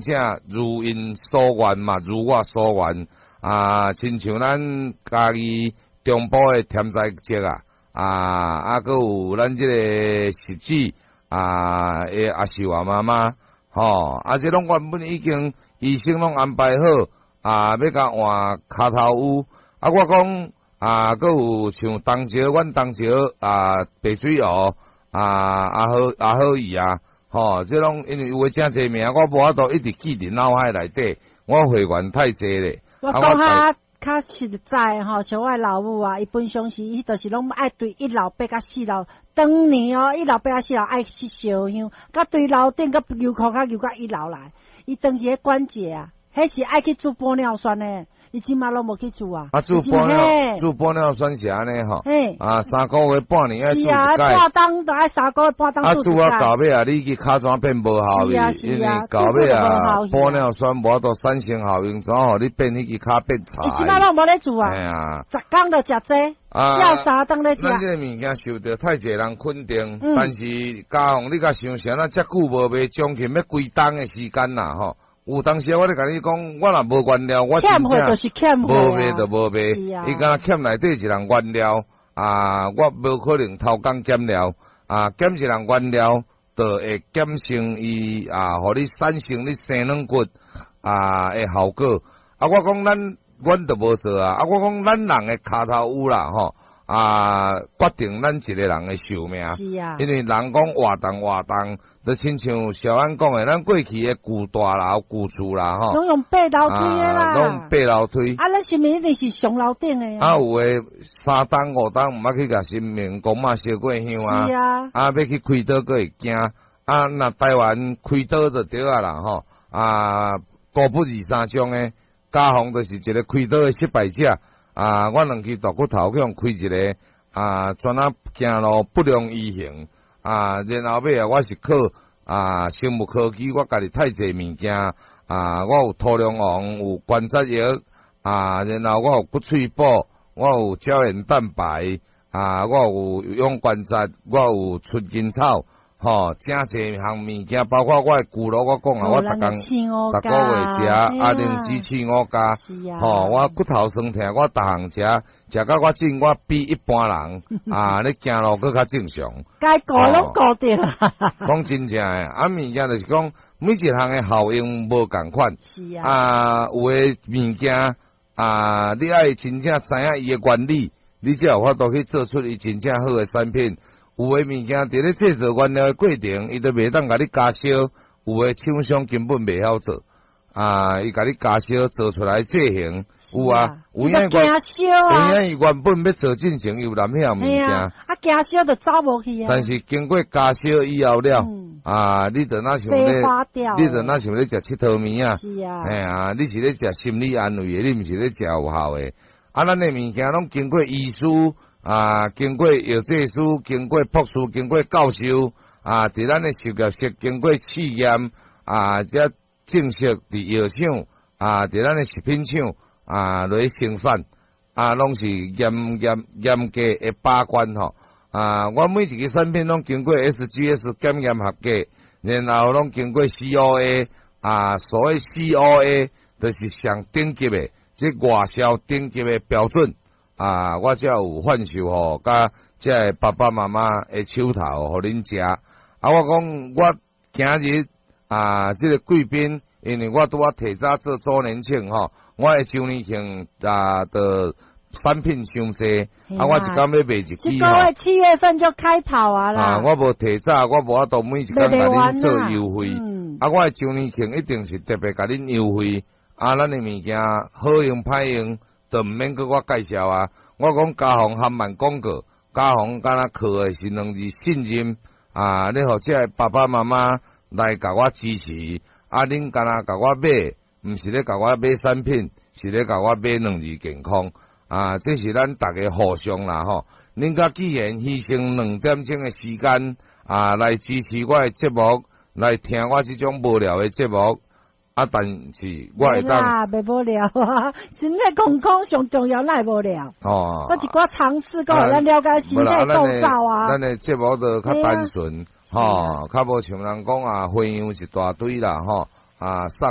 正如𪜶所願嘛，如我所願啊，親像咱嘉義中部的天災節啊，閣有咱這個十指啊的阿秀啊媽媽，吼，啊，這攏原本已經醫生攏安排好啊，欲共換跤頭趺。啊，我講啊，閣有像東石，阮東石啊，白水湖啊，阿好伊啊，吼，這攏因為有的誠濟名，我無法度一直記佇腦海內底，我會員太濟咧。我講較較實在吼，像我老母啊，伊平常時伊就是攏愛對一樓爬甲四樓，當年哦，一樓爬甲四樓愛熄燒香，佮對樓頂佮油庫較油到一樓來，伊長期彼關節啊，彼是愛去注玻尿酸的，伊這馬攏無去注啊。啊，注玻尿酸是按呢吼。啊，3個月半年愛注一擺。是啊，半冬都愛3個月半冬。啊，注啊到尾啊，你去尻怎變無效去？因為到尾啊，玻尿酸無法度產生效用，怎予你變彼支跤變柴？伊這馬攏無咧注啊。嘿啊。逐工就食這，食三頓咧食。咱這个物件受著太濟人肯定，但是嘉宏，你共想啥？咱遮久無賣，將近欲規冬的時間啦，吼。有當時我咧共你講，我若無原料，我真正無賣就無賣。伊敢若欠內底一人原料啊，我無可能偷工減料啊，減一人原料，就會減成伊啊，予你產生你生軟骨啊的效果。啊，我講咱，阮就無做啊。啊，我講咱人的跤頭趺啦，吼啊，決定咱一個人的壽命。是啊。因為人講活動活動，就親像小安講的，咱過去的舊大樓、舊厝啦，吼，攏用爬樓梯的啦，攏爬樓梯。啊，咱神明一定是上樓頂的。啊，有的三冬五冬毋捌去共神明公媽燒過香啊。是啊。啊，欲去開刀閣會驚。啊，若台灣開刀就對啊啦，吼。啊，孤不二三種的，嘉宏就是一個開刀的失敗者。啊，我兩支大骨頭去予開一个，啊，專仔行路不良於行。啊，然後尾啊，我是靠啊生物科技，我家己太濟物件啊，我有土龍王，有關節藥啊，然後我有骨髓補，我有膠原蛋白啊，我有養關節，我有春根草，吼，誠濟項物件，包括我的骨瘻，我講啊，我逐工逐个月食啊，靈芝刺五加，吼，我骨頭酸痛，我逐項食，食到我進我比一般人啊，咧行路閣較正常。該顧攏顧著。講真正的，啊，物件就是講每一項的效用無仝款。啊，有的物件啊，你愛真正知影伊的原理，你才有法度去做出伊真正好的產品。有的物件佇咧製造原料的過程，伊都袂當共你加燒。有的廠商根本袂曉做，啊，伊共你加燒做出來製型，有啊，有影驚燒啊，有影伊原本欲做進前，有含彼項物件，啊，驚燒就走無去啊。但是經過加燒以後了，啊，你就若像咧，你就若像咧食𨑨迌物仔，嘿啊，你是咧食心理安慰的，你毋是咧食有效的。啊，咱的物件攏經過醫師啊，經過藥劑師，經過博士，經過教授啊，佇咱的實驗室經過試驗啊，才正式佇藥廠啊，佇咱的食品廠啊來生產啊，攏是嚴嚴嚴格的把關吼。啊，我每一个產品攏經過 SGS 檢驗合格，然後攏經過 COA 啊，所謂 COA 就是上頂級的，這外銷頂級的標準。啊，我才有販售吼，佮這个爸爸媽媽的手頭，予恁食。啊，我講我今日啊，這个貴賓，因為我拄仔提早做周年慶吼，我的周年慶啊，的產品傷濟，啊，我一工欲賣一支吼。這個月7月份就開跑啊啦。啊，我無提早，我無法度每一工共恁做優惠。啊，我的周年慶一定是特別共恁優惠。啊，咱的物件好用歹用，就毋免閣我介紹啊。我講嘉宏含萬廣告，嘉宏敢若靠的是兩字信任啊！你予這个爸爸媽媽來共我支持，啊，恁敢若共我買，毋是咧共我買產品，是咧共我買兩字健康啊！這是咱逐家互相啦吼。恁佮既然犧牲2點鐘的時間啊，來支持我的節目，來聽我這種無聊的節目。啊！但是我會當啦，袂無聊啊！身體健康上重要，哪會無聊？哦，閣一寡常識，閣予咱了解身體構造啊。咱的節目就較單純，吼，較無像人講啊，花樣一大堆啦，吼。啊，送。